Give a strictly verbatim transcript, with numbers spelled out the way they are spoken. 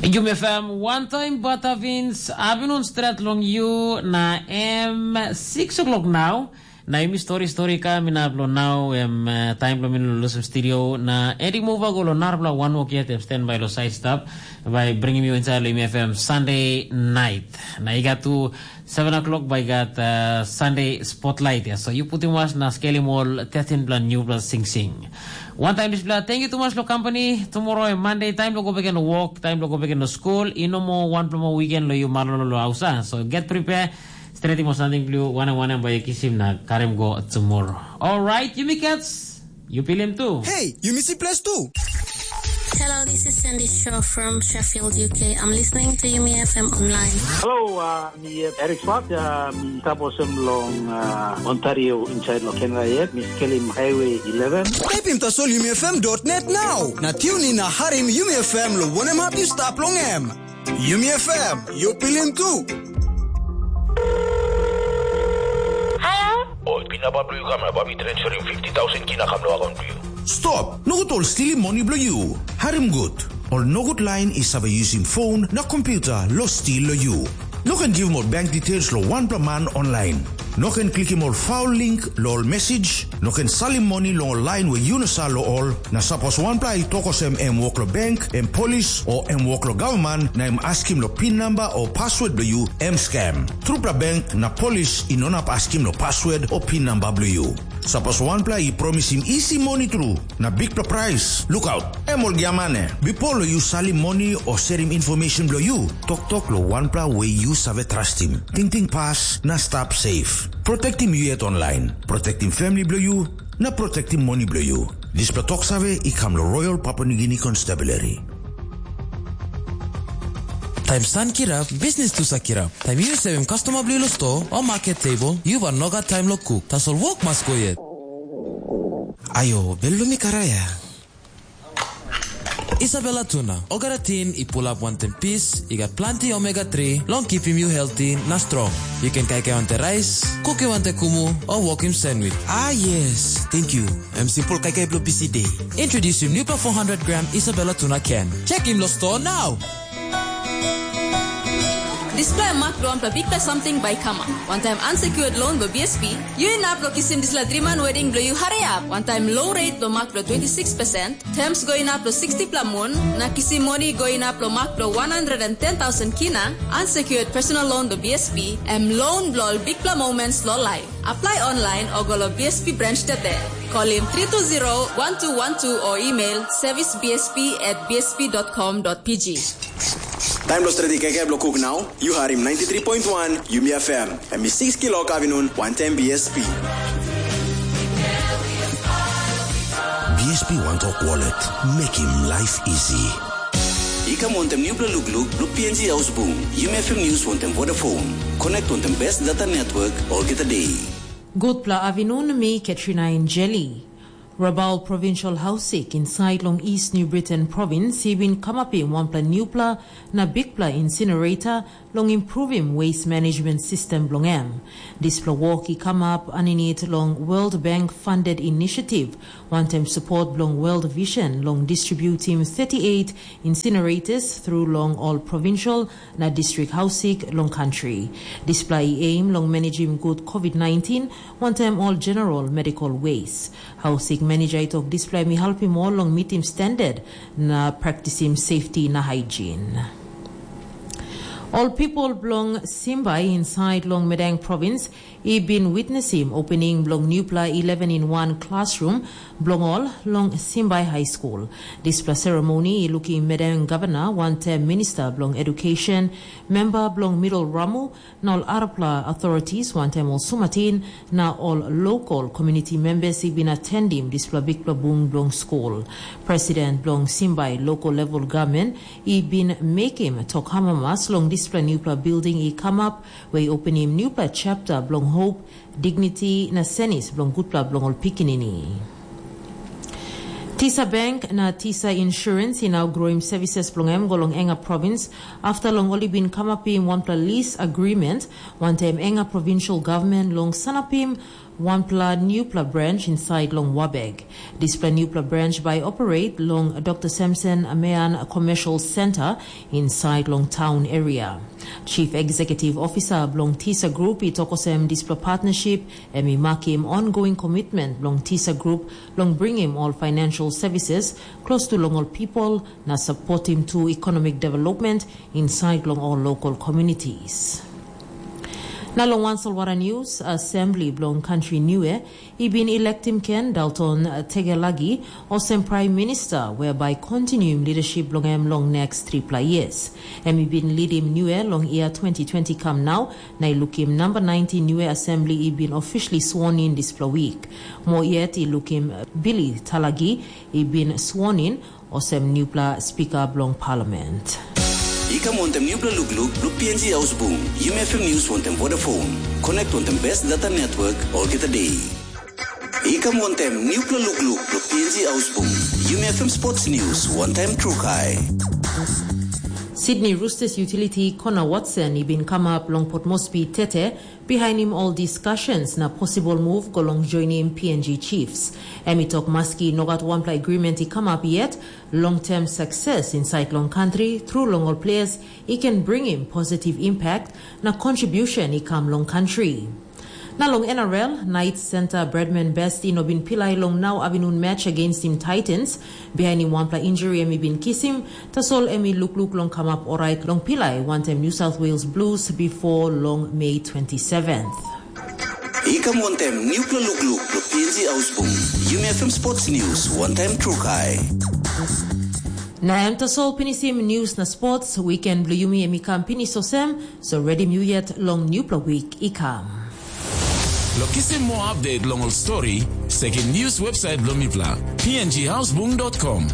Yumi F M, wantaim Batavins, avinun stret long yu na em six o'clock nau. Na yumi stori stori kam inap long nau, em uh, taim long mi lusim studio. Na Eddie Mova go long narapela wanwok yet, em stand by lo side stop, by bringim you inside lo Yumi F M Sunday night. Na i gat tu seven o'clock by gat uh, Sunday spotlight ya. So you put him was na skelim all thirteen plan new plus sing sing. One time this plan, thank you too much lo company. Tomorrow and Monday, time lo go back and work, time lo go back and school. Ino mo one plan weekend lo you malolo lo hausa. So get prepared. Stretim o samting blu wanem wanem bai yu kisim na karim go tomorrow. Alright, yumi cats, yu pilim tu. Hey, you missy place too. Hello, this is Sandy Shaw from Sheffield, U K. I'm listening to Yumi F M online. Hello, uh, mi uh, Eric Swat, uh, mi taposem long uh, Ontario inside lo Canada yet. Mi skelim Highway eleven. Type in tasol yumi F M dot net now. Na tune in na harim Yumi F M lo wanem hap you stop long em. Yumi F M, you pilim tu. Ol pinapa bilong yu kam na bai mi transferim fifty tausen kina kam long akaun bilong yu. Stop! Nogut ol stilim moni bilong yu. Harim gut. Ol nogut lain i save yusim fon na kompyuta long stil long yu. No ken givim ol bank details long wanpela man online. No ken klikim ol faul link long ol mesij. No ken salim moni long ol lain we yu no sa long ol. Na sapos wanpela i tok olsem em wok long bank, em polis, o em wok long gavman, na em askim long pin namba o paswod bilong yu, em skem. Trupela bank na polis i no inap askim long paswod o pin namba bilong yu. Sapos wanpela i promisim isi moni tru na bikpela prais, lukaut, em ol giamane. Bipo long yu salim moni o serim infomeshen bilong yu, toktok long wanpela we yu save trastim. Tingting pas na stap safe. Protektim yu yet online. Protektim famili bilong yu na protektim moni bilong yu. Dispela tok save i kam long Royal Papua New Guinea Constabulary. Taim san kirap, bisnis tu sa kirap. Taim yu seven customer bilong sto o market table, yu van nogat taim lo cook. Tasol wok mas go yet. Ayo, belumi karaya. Isabella Tuna, Ogara team i pulap wantaim pis, i gat planti omega three long kipim yu healthy na strong. Yu ken kaikai wantaim rais, kukim wantaim kumu, o wokim sandwich. Ah yes, thank you. Em simple kaikai bilong busy day. Introducing new four hundred gram Isabella Tuna can. Check him lo store now. Dispela em mak bilong wanpela bikpela samting bai i kamap. Wantaim unsecured loan bilong B S P, yu inap long kisim dispela driman wedding bilong yu hariap. Wantaim low rate bilong mak bilong twenty six percent, terms go inap long sixty pela mun, na kisim moni go inap long mak bilong one hundred and ten thousand kina, unsecured personal loan bilong B S P, em loan bilong ol bikpela moments long laip. Apply online o go long B S P branch tete. Call in three two zero one two one two or email service B S P at B S P dot com dot P G. Taim lo stret i kaikai bilong kuk nau, yu harim ninety three point one Yumi F M. Em i six kilok avinun, wantaim B S P. B S P One Talk Wallet, making life easy. I kam wantaim nupela lukluk bilong P N G Haus Bung, Yumi F M News wantaim Vodafone. Connect wantaim best data network olgeta day. Gutpela avinun, mi Katrina Injeli. Rabaul Provincial Hausik insait long East New Britain Province i bin kamapim wanpela nupela na bikpela incinerator long improvim waste management system bilong em. Dispela wok i kamap aninit long World Bank funded initiative, wantaim support bilong World Vision long distributim thirty-eight incinerators through long all provincial na distrik hausik long country. Dispela i aim long managim gut COVID nineteen wantaim all general medical waste. Hausik manager i tok dispela em i helpim ol long mitim standard na praktisim safety na hygiene. Ol pipol bilong Simbai inside long Medang province i bin witnesim opening bilong nupela eleven in one classroom bilong ol long Simbai High School. Dispela seremoni i lukim Medang Gavana wantaim Minista bilong Education, memba bilong Middle Ramu, na ol arapela authorities wantaim ol sumatin na ol local community members i bin atendim dispela bikpela bung bilong skul. President bilong Simbai Local Level Government i bin mekim tok amamas long dispela nupela building i kamap, we i openim nupela chapter bilong hope, dignity na senis bilong gutpela bilong ol pikinini. Tisa Bank na Tisa Insurance i nau groim services bilong em go long Enga Province after long ol i bin kamapim wanpela lease agreement wantaim Enga Provincial Government long sanapim wanpela newpela branch inside long Wabeg. Dispela newpela branch bai operate long Dr Samson Amean Commercial Center inside long town area. Chief Executive Officer bilong Tisa Group i tok olsem dispela partnership em i makim ongoing commitment bilong Tisa Group long bringim ol financial services close to long ol people na supportim tu economic development inside long ol local communities. Na long wan solwara news, Assembly bilong Country Niue i bin electim Ken Dalton Tegelagi olsem Prime Minister, whereby continuing leadership bilong em long next tripla years. Em i bin leadim Niue long year twenty twenty kam nau, na i lukim number nineteen Niue Assembly i bin officially sworn in dispela week. Mo yet i lukim Billy Talagi i bin sworn in olsem newpela Speaker bilong Parliament. I kam wantaim newpela lukluk bilong P N G Haus Bung, Yumi F M News wantaim Vodafone. Connect wantaim best data network olgeta day. I kam wantaim newpela lukluk bilong P N G Haus Bung, Yumi F M Sports News wantaim Trukai. Sydney Roosters utility Connor Watson i bin kamap long Port Moresby tete bihainim ol discussions na possible move go long joinim P N G Chiefs. Em i tok maski no gat wanpela agreement i kamap yet, long term success inside long country through long ol players i can bring him positive impact na contribution i kam long country. Na long N R L, Knights center Bradman Best i no bin pilai long nau avinun match against him Titans, bihainim wanpela injury em i bin kisim, tasol em i lukluk long kamap orait long pilai wantaim New South Wales Blues before long May twenty-seventh. I kam wantaim newpela lukluk bilong P N G Haus Bung, Yumi F M Sports News wantaim Trukai. Na em tasol pinisim news na sports, weekend bilong yumi em i kam pinis olsem, so redim yu yet long newpela week i kam. Long kisim moa update long ol stori, sekim news website bilong mipela, P N G hausbung dot com.